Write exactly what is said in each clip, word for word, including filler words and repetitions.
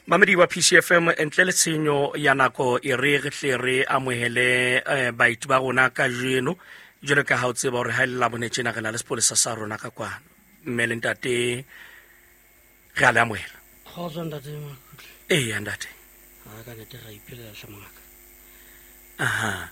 Mamedi wa P C F M, ntle le tshenyo ya nako e re re tle re amohele eh, baeti ba rona kajeno. Jwalo ka ha o tseba hore ha e le Labone tjena re na le sepolesa sa rona ka kwano. Mme le ntate re a le amohela. Kgotso ntate Makutle. Eya ntate. Ha ka nete ra iphelela hle mongaka. Aha.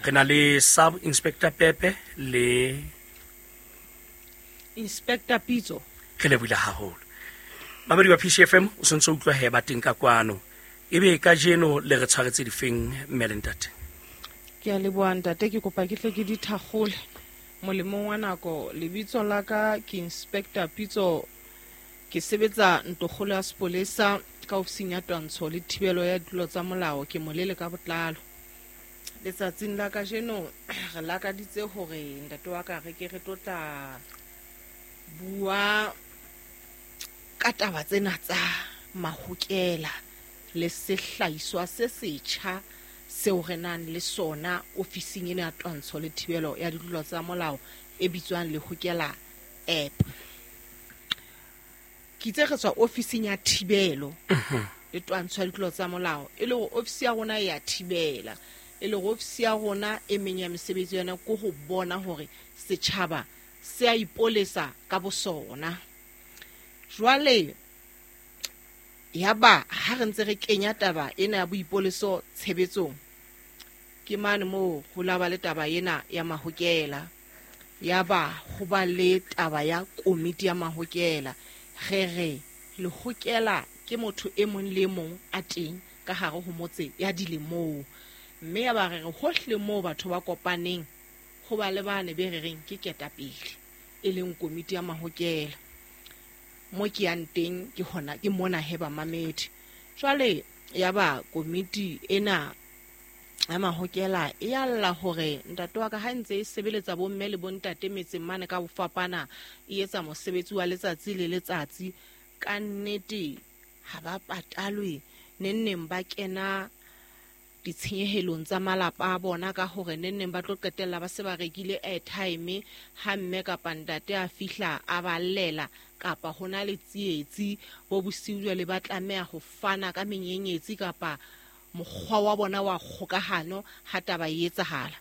Re na le Sub Inspector Pepe le Inspector Pitso. Re lebohile haholo. Mamedi wa P C F M, o sentse o utlwa he ba teng ka kwano. Ebe kajeno le re tshwaretse difeng mme le ntate? Ke a leboha ntate, ke kopa ke tle ke di thakgole. Molemong wa nako, lebitso la ka ke Inspector Pitso, ke sebetsa ntlokgolo ya sepolesa ka ofising ya twantsho le thibelo ya ditulo tsa molao, ke molele ka botlalo. Letsatsing la kajeno re lakaditse hore ntate wa ka re ke re tlo tla bua ka taba tsena tsa mahokela le sehlahiswa se setjha seo re nang le sona ofising ena ya twantsho le thibelo ya ditlolo tsa molao e bitswang Lehokela app. Ke itse re tswa ofising ya thibelo le twantsho ya ditlolo tsa molao, e le hore ofisi ya rona e ya thibela, e le hore ofisi ya rona e meng ya mesebetsi yona ke ho bona hore setjhaba se a ipolesa ka bosona. Jwale yaba ha re ntse re kenya taba ena ya boipoleso tshebetsong, ke mane moo ho la ba le taba ena ya mahokela, yaba ho ba le taba ya komiti ya mahokela. Re re lehokela ke motho e mong le mong a teng ka hare ho motse ya dilemong, mme ya ba re re hohle moo batho ba kopaneng ho ba le bane be re reng ke ketapele, e leng komiti ya mahokela. Mo ke yang teng ke hona ke mona he ba mamedi. Jwale ya ba komiti ena ya mahokela e ya lla hore ntate wa ka ha ntse e sebeletsa bomme le bontate metseng mane ka ho fapana, e etsa mosebetsi wa letsatsi le letsatsi, ka nnete ha ba patalwe, neng neng ba kena ditshenyehelong tsa malapa a bona ka hore neng neng ba tlo qetella ba se ba rekile airtime ha mme kapa ntate a fihla a ba llela, kapa ho na le tsietsi bo bosiu jwale ba tlameha ho fana ka menyenyetsi kapa mokgwa wa bona wa kgokahano ha taba e etsahala.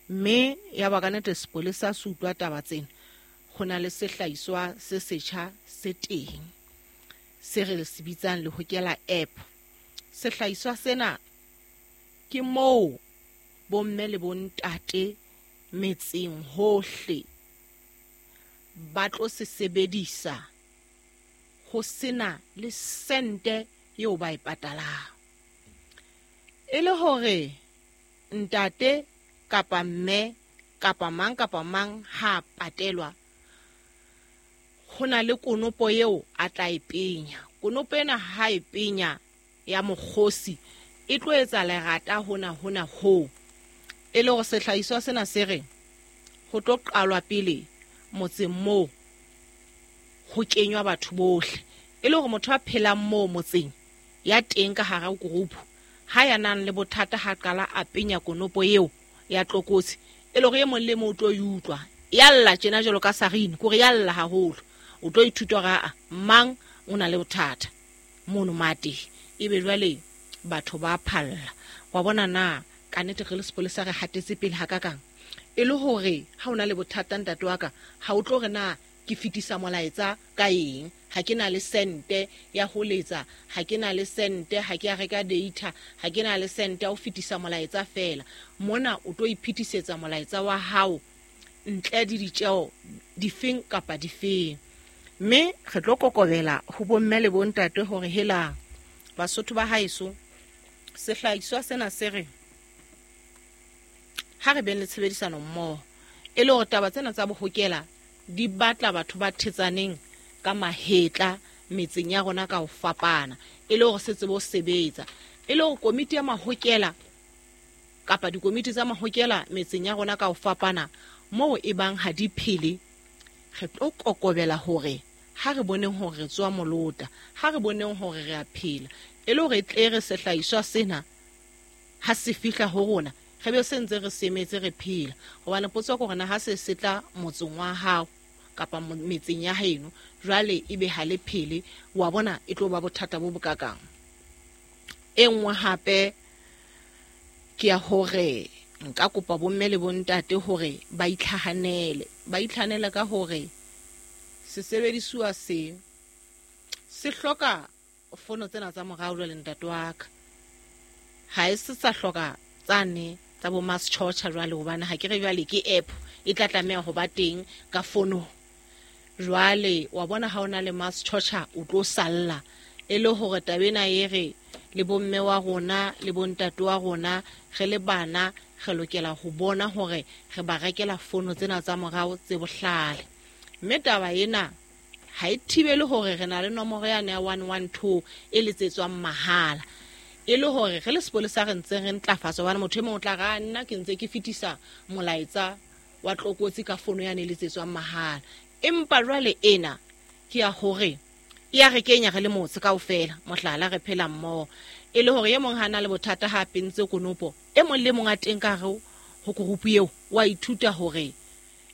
Mme ya ba ka nnete sepolesa se utlwa taba tsena, ho na le sehlahiswa se setjha se teng se re se bitsang Lehokela app. Sehlahiswa sena ke moo bomme le bontate metseng hohle ba tlo se sebedisa ho sena le sente eo ba e patalang. E le hore ntate kapa mme kapa mang kapa mang ha patelwa, ho na le konopo eo a tla e penya. Konopo ena ha e penya ya mokgosi e tlo etsa lerata hona hona ho. E le hore sehlahiswa sena se re ho tlo qalwa pele motseng moo ho kenywa batho bohle, e le hore motho a phelang moo motseng ya teng ka hara group ha ya nang le bothata ha qala a penya konopo eo ya tlokotsi, e le hore e mong le mong o tlo e utlwa ya lla tjena jwalo ka sarine, kore ya lla haholo, o tlo ithuta hore aa mang o na le bothata mono mate. Ebe jwale batho ba phalla wa bona na ka nnete re le sepolesa re hatetse pele ha kakang. E le hore ha o na le bothata ntate wa ka, ha o tlo re na ke fetisa molaetsa ka eng, ha ke na le sente ya ho letsa, ha ke na le sente, ha ke a reka data, ha ke na le sente ya ho fetisa molaetsa fela. Mona o tlo iphetisetsa molaetsa wa hao ntle le ditjeo difeng kapa difeng. Mme re tlo kokobela ho bomme le bontate hore hela Basotho ba haeso, sehlahiswa sena se re ha re beng le tshebedisano mmoho, e le hore taba tsena tsa bohokela di batla batho ba thetsaneng ka mahetla metseng ya rona ka ho fapana, e le hore se tsebe ho sebetsa, e le hore komiti ya mahokela kapa dikomiti tsa mahokela metseng ya rona ka ho fapana moo e bang ha di phele, re tlo kokobela hore ha re boneng hore re tswa molota, ha re boneng hore re a phela, e le hore e tle re sehlahiswa sena ha se fihla ho rona re be se ntse re semetse re phela. Hobane potso ke hore na ha se se tla motseng wa hao kapa metseng ya heno jwale ebe ha le phele, wa bona e tlo ba bothata bo bokakang. E nngwe hape ke ya hore nka kopa bomme le bontate hore ba itlhahanele, ba itlhahanele ka hore sesebedisuwa se se hloka fono tsena tsa morao jwale ntate wa ka. Ha e se sa hloka tsane tsa bo mass torture jwale, hobane ha ke re jwale ke app e tla tlameha ho ba teng ka fono. Jwale wa bona ha ona le mass torture o tlo salla e le hore taba ena e re le bomme wa rona le bontate wa rona re le bana re lokela ho bona hore re ba rekela fono tsena tsa morao tse bohlale. Mme taba ena ha e thibele hore re na le nomoro yane ya one one two e letsetswang mahala, e le hore re le sepolesa re ntse re ntlafatsa, hobane motho e mong o tla ra nna ke ntse ke fetisa molaetsa wa tlokotsi ka fono yane e letsetswang mahala. Empa jwale ena ke ya hore e ya re kenya re le motse kaofela, mohlala re phela mmoho, e le hore e mong ha na le bothata ha pentse konopo, e mong le mong a teng ka hare ho group eo wa ithuta hore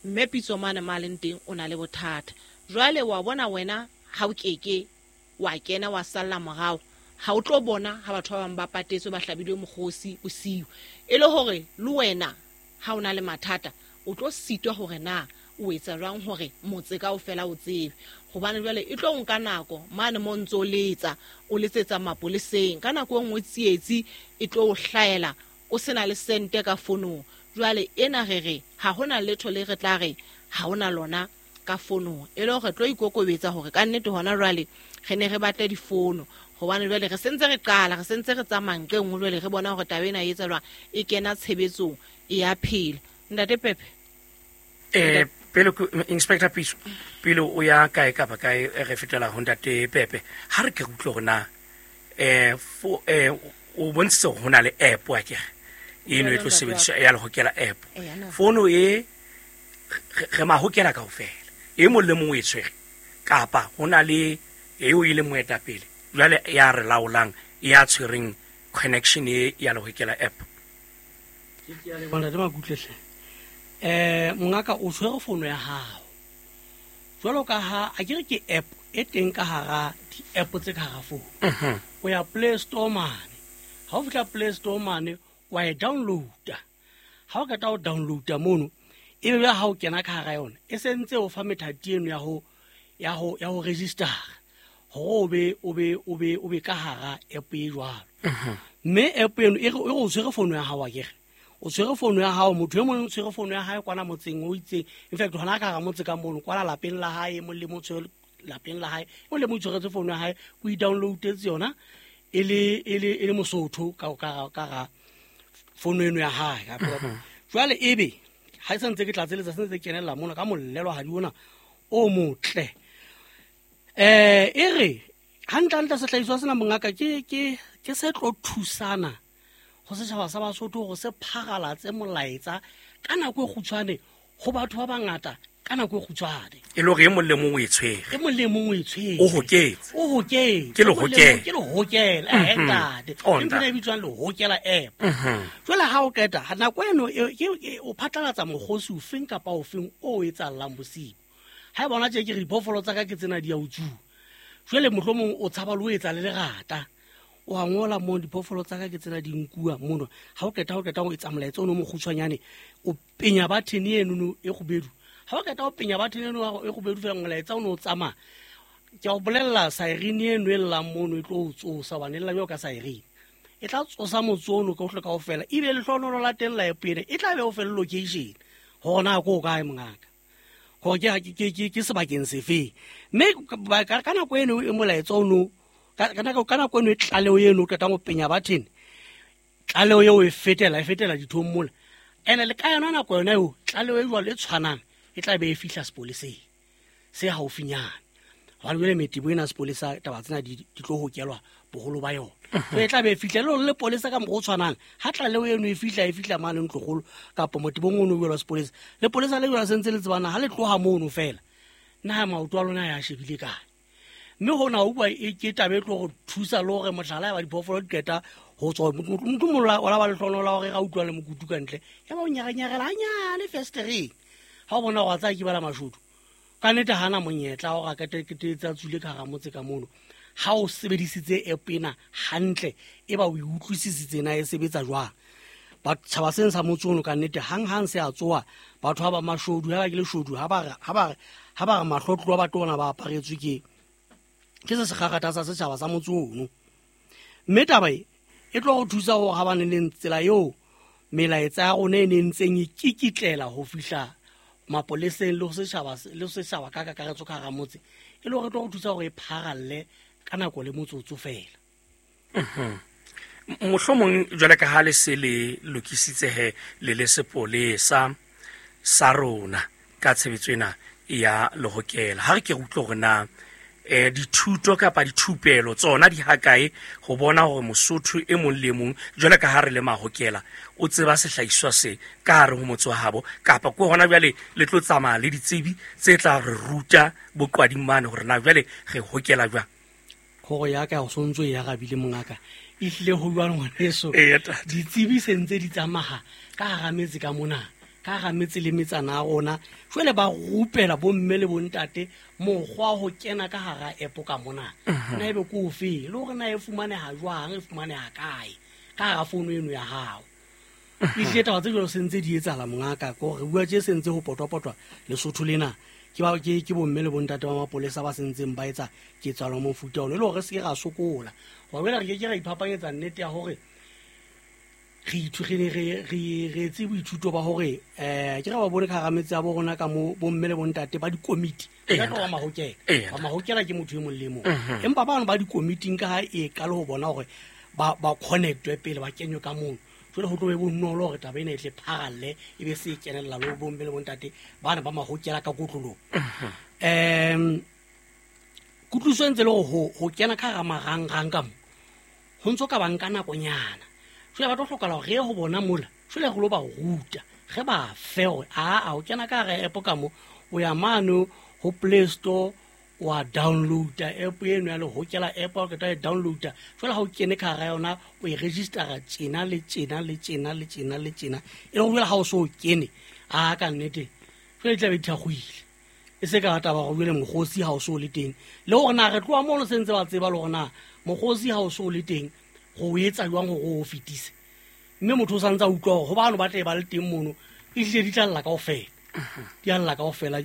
mme Pitso mane ma leng teng o na le bothata. Jwale wa bona wena ha o keke wa kena wa salla morao, ha o tlo bona ha batho ba bang ba patetswe ba hlabilwe mokgosi bosiu, e le hore le wena ha o na le mathata o tlo sitwa hore na o etsa jwang hore motse kaofela o tsebe, hobane jwale e tlo nka nako mane mo ntso letsa o letsetsa mapoleseng, ka nako e nngwe tsietsi e tlo o hlaela o sena le sente ka fonong. Jwale ena re re ha hona letho le re tla re ha hona lona ka fonong, e le hore tlo ikokobetsa hore ka nnete hona jwale re ne re batle difono, hobane jwale re sentse re qala, re sentse re tsamaya nqe nngwe, jwale re bona hore taba ena e etsa jwang, e kena tshebetsong e ya phela. Ntate Pepe. Eh pele Inspector Pitso, pele o ya kae kapa kae re fetela ho ntate Pepe, ha re ke utlwe hore na eh fo eh o bontshitse hore hona le app wa kere eno e tlo sebediswa ya lehokela app. Fono e re mahokela kaofela, e mong le mong o e tshwere, kapa hona le eo e le moetapele jwale ya re laolang ya tshwereng connection e ya lehokela app. Ke a leboha ntate Makutle hle. Eh mongaka o tshwere fono ya hao jwalo ka ha a ke re ke app e teng ka hara di-app tse ka hara fono. O ya Play Store mane, ha o fihla Play Store mane wa e downloada. Ha o qeta ho downloada mono, ebe jwale ha o kena ka hara yona e sentse o fa methati eno ya ho ya ho ya ho register hore o be o be o be o be ka hara app e jwalo. Mme app eno e re o tshwere fono ya hao akere, o tshwere fono ya hao, motho e mong o tshwere fono ya hae kwana motseng o itseng, in fact hona ka hara motse ka mono kwana lapeng la hae, e mong le mong tshwere lapeng la hae, e mong le mong o tshweretse fono ya hae, o e downloadetse yona e le e le e le Mosotho ka ka ka ra fono eno ya hae. Jwale ebe ha e santse ke tlatseletsa sentse ke kenella mona ka mollelo hadi ona o motle. Eh e re hantlentle sehlahiswa sena mongaka ke ke ke se tlo thusana ho setjhaba sa Basotho hore se pharalatse molaetsa ka nako e kgutshwane ho batho ba bangata ka nako e kgutshwane, e le hore e mong le mong o e tshwere, e mong le mong o e tshwere, o hoketse, o hoketse, ke lehokela, ke lehokela eh ntate, ntho e bitswang lehokela app. Jwale ha o qeta nako eno ke o phatlalatsa mokgosi ofeng kapa ofeng o etsahalang bosiu. Ha e bona tje ke re diphoofolo tsa ka ke tsena di a utsuwa, jwale mohlomong o tshaba le ho etsa le lerata, o a ngola mo diphoofolo tsa ka ke tsena di nkuwa mono. Ha o qeta o qeta o etsa molaetsa ono mokgutshwanyane, o penya button eno e kgubedu. Ha o qeta o penya button eno e kgubedu fela molaetsa ono o tsamaya. Ke a o bolella siren eno e llang mono e tlo o tsosa, hobane e lla jwalo ka siren, e tla tsosa motse ono kaohle kaofela, ebe lehlohonolo la teng la app ena e tla be o fe le location hore na ko kae mongaka, hore ke ke ke ke sebakeng sefeng. Mme ka nako eno e molaetsa ono ka nako ka nako eno e tlaleho eno o qetang ho penya button, tlaleho eo e fetela e fetela dithong mola, ene le ka yona nako yona eo tlaleho e jwalo e tshwanang e tla be e fihla sepoleseng se haufinyane, hobane jwale metebo ena sepolesa taba tsena di di tlo hokelwa boholo ba yona. So e tla be e fihla le le polesa ka mokgwa o tshwanang, ha tlaleho eno e fihla e fihla mane ntlokgolo kapa motebong ono o jwalo sepolesa, le polesa le jwalo sentse le tsebana ha le tloha mono fela na maoto a lona ya shebile kae. Mme hona o bua e ke taba e tlo go thusa le hore mohlala ya ba diphoofolo di qeta ho tswa motho mola o la ba lehlohonolo la hore ga utlwa le mokutu ka ntle, ya ba o nyarenyarela hanyane festereng ha o bona hore a tsaya ke bala mashodu ka nnete hana monyetla hore a keteketetse a tswile ka hara motse ka mono. Ha o sebedisitse app ena hantle e ba o utlwisisitse na e sebetsa jwang. Batjhaba seng sa motse ono ka nnete hang-hang se a tsoha batho ha ba mashodu ha ba ke leshodu ha ba ha ba ha ba re mahlotlo ba tona ba aparetswe ke ke se sekgakgatha sa setjhaba sa motse ono. Mme taba e e tlo go thusa hore ha ba ne le tsela eo melaetsa ya rona e ne ntseng e kikitlela ho fihla mapoleseng le ho setjhaba le setjhaba ka kakaretso ka hara motse e le hore tlo go thusa hore e pharalle ka nako le motsotso fela. Mohlomong jwale ka ha le se le lokisitse he le le sepolesa sa rona ka tshebetso ena ya lehokela, ha re ke re utlwe hore na eh dithuto kapa dithupelo tsona di hakae ho bona hore Mosotho e mong le mong jwale ka ha re le mahokela o tseba sehlahiswa se ka hare ho motse wa habo, kapa ke hona jwale le tlo tsamaya le ditsebi tse tla re ruta boqwading mane hore na jwale re hokela jwang. Kgoro ya ka o sontso e arabile mongaka e hlile ho jwang ngwaneso, ditsebi se ntse di tsamaha ka hara metse ka mona, ka hara metse le metsana ya rona. Jwale ba rupela bomme le bontate mokgwa ho kena ka hara app ka mona na ebe ke ofe le hore na e fumaneha jwang, e fumaneha kae ka hara founu eno ya hao. Ehlile taba tse jwalo se ntse di etsahala mongaka, ke hore re bua tje se ntse ho potwapotwa Lesotho lena ke ba ke ke bomme le bontate ba mapolesa ba sentseng ba etsa ketsahalo mofuta ono e le hore re se ke ra sokola. Hobane jwale re ke ke ra iphapanyetsa nnete ya hore re ithugile re re re etse boithuto ba hore eh ke re ba bone ka hara metse ya bo rona ka mo bomme le bontate ba dikomiti ka tloha mahokela ba mahokela ke motho e mong le mong, empa ba bang ba dikomiting ka ha e ka le ho bona hore ba ba connectwe pele ba kenywe ka mono. Jwale ho tlo be bonolo hore taba ena e tle pharalle e be se e kenella le bomme le bontate bana ba mahokela ka kotlolong. Em kutlwiso ntse le hore ho kena ka hara marangrang ka mo ho ntso ka bang ka nakonyana. Jwale ba tlo hlokahala hore re ye ho bona mola, jwale re lo ba ruta re ba fe hore a a o kena ka hara app ka mo o ya mane ho Play Store wa downloada app eno ya lehokela app, o qeta e downloada jwale ha o kene ka hara yona o e registera tjena le tjena le tjena le tjena le tjena e le hore jwale ha o so o kene a ka nnete jwale e tla be thakgoile e se ka taba hore jwale mokgosi ha o so le teng le hore na re tloha mono se ntse ba tseba le hore na mokgosi ha o so le teng go etsa jwang hore o fetise, mme motho o sa ntse a utlwa hore ho bano ba tle ba le teng mono e hlile di tla lla kaofela di a lla kaofela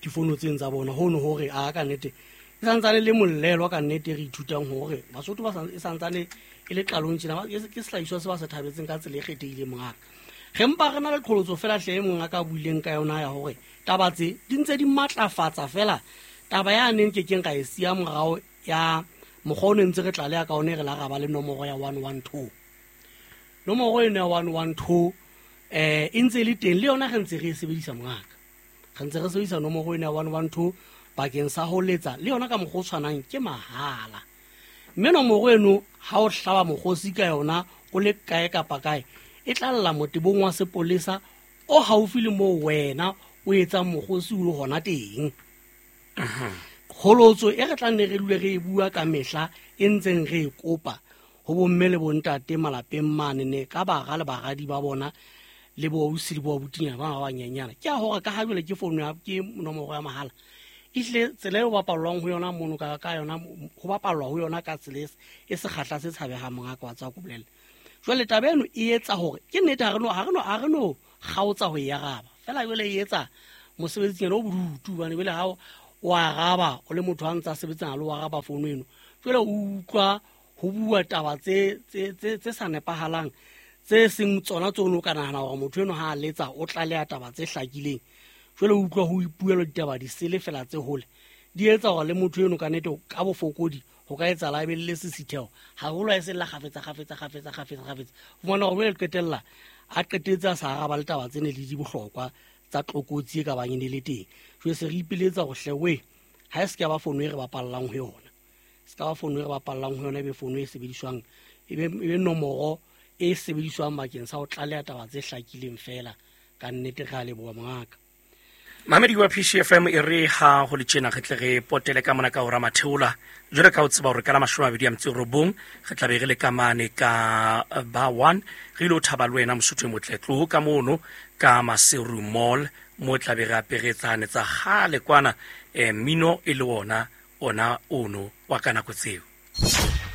difono tseng tsa bona hono hore a ka nnete e santsane le mollelo ka nnete re ithutang hore Basotho ba e santsane e le qalong tjena ke sehlahiswa se ba se thabetseng ka tsela e kgethehileng mongaka. Re mpa re na le qholotso fela hle e mongaka a buileng ka yona ya hore taba tse di ntse di matlafatsa fela taba ya neng ke keng ka e siya morao ya mokgwa o ne ntse re tlaleha ka one re la ra ba le nomoro ya one one two. Nomoro eno ya one one two eh e ntse e le teng le yona re ntse re e sebedisa mongaka. Re ntse re sebedisa nomoro eno ya one one two bakeng sa ho letsa le yona ka mokgwa o tshwanang ke mahala. Mme nomoro eno ha o hlaba mokgosi ka yona o le kae kapa kae e tla lla motebong wa sepolesa o haufi le moo wena o etsang mokgosi o le hona teng. Kgolotso e re tla nne re dule re e bua ka mehla e ntseng re e kopa ho bomme le bontate malapeng mane ne ka bara le baradi ba bona le bo ausi le bo abutinyana ba ba banyenyana ke a hore ka ha jwale ke founu ya ke nomoro ya mahala e hlile tsela eo bapallwang ho yona mono ka ka yona ho bapallwa ho yona ka tsela e sekgahla se tshabehang mongaka wa tsa ko bolella. Jwale taba eno e etsa hore ke nnete ha re no ha re no ha re no kgaotsa ho e araba fela jwale e etsa mosebetsinyana o bodutu hobane jwale ha o araba o le motho a ntsa sebetsana le o araba founu eno jwale o utlwa ho bua taba tse tse tse tse sa nepahalang tse seng tsona tse o ka nahana hore motho eno ha a letsa o tlaleha taba tse hlakileng. Jwale o utlwa ho ipuelwa ditaba di sele fela tse hole di etsa hore le motho eno ka nnete ka bofokodi ho ka etsahala e be le lesisitheho haholo ha e se lla kgafetsa kgafetsa kgafetsa kgafetsa kgafetsa o fumana hore jwale qetella a qetetse a sa araba le taba tse ne le di bohlokwa tsa tlokotsi e ka bang e ne le teng. Jwale se re ipiletsa hore hle we ha e se ka ba founu e re bapallang ho yona, se ka ba founu e re bapallang ho yona e be founu e sebediswang e be e be nomoro e sebediswang bakeng sa ho tlaleha taba tse hlakileng fela. Ka nnete re a leboha mongaka. Mamedi wa P C F M e re ha ho le tjena re tle re potele ka mona ka hora matheola jwale ka o tseba hore ka la mashome a mabedi a metso e robong re tla be re le ka mane ka ba one re ilo thaba le wena Mosotho e motle tloho ka mono ka Maseru Mall mo tla be re aperetsane tsa kgale kwana eh, mmino e le ona ona ono wa ka nako tseo.